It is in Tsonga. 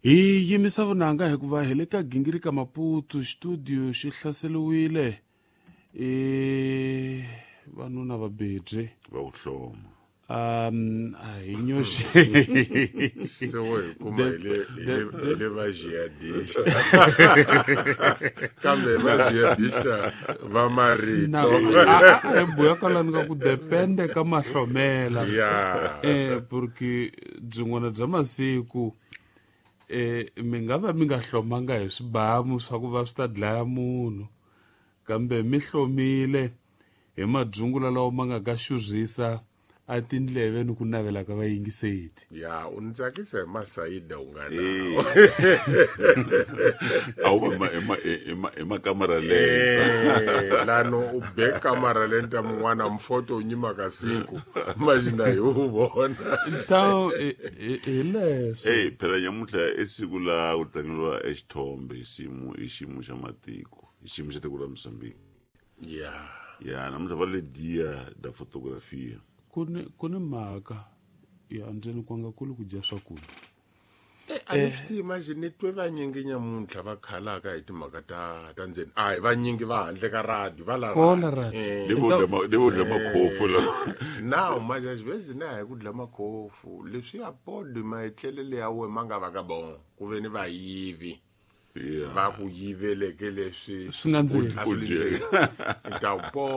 Hi yimisa vunanga hikuva hi le ka gingirika Maputo, studio xi hlaseriwile i vanuna va bebye va ku hloma. A hi nyoxe. Se wo hi kuma hi le va jihadista, kambe va jihadista va marito. A hi buya kwalani ka ku depende ka mahlomela. Porque byin'wana bya masiku mi nga va mi nga hlomanga hi swibamu swa ku va swi ta dlaya munhu, kambe mi hlomile hi madyungula lawa ma nga ka xurhisa a tindleve ni ku navela ka vayingiseti. Ya, u ni tsakisa hi masayida u nga nawo. A wu hi makamara leyo. Lano u be kamara lenta mun'wana mfoto u nyimaka siku imagina hi wu vona. Ntawu hi leswo. Ey, phela nyamuntlha i siku la ku tlangeriwa exithombe hi xiyimo xa matiko, hi xiyimo xa tiko ra Mozambique. Ya, namuntlha va le Dia da Fotografia. Ku ni mhaka ya ndzeni kwanga kuli ku dya swakudya. A ni swi tivi, imagine ni twe vanyingi nyamuntlha va khalaka hi timhaka ta ndzeni. A hi vanyingi va handle ka radio, va la. Kola radio. Le vo dya makhofu la. Now majazivezi na hi ku dla makhofu leswi ya podi maetlelele ya we ma nga va ka bon ku ve ni vayivi va ku yiveleke leswi. Swi nga ndzeni. A swi le ndzeni. I ta po.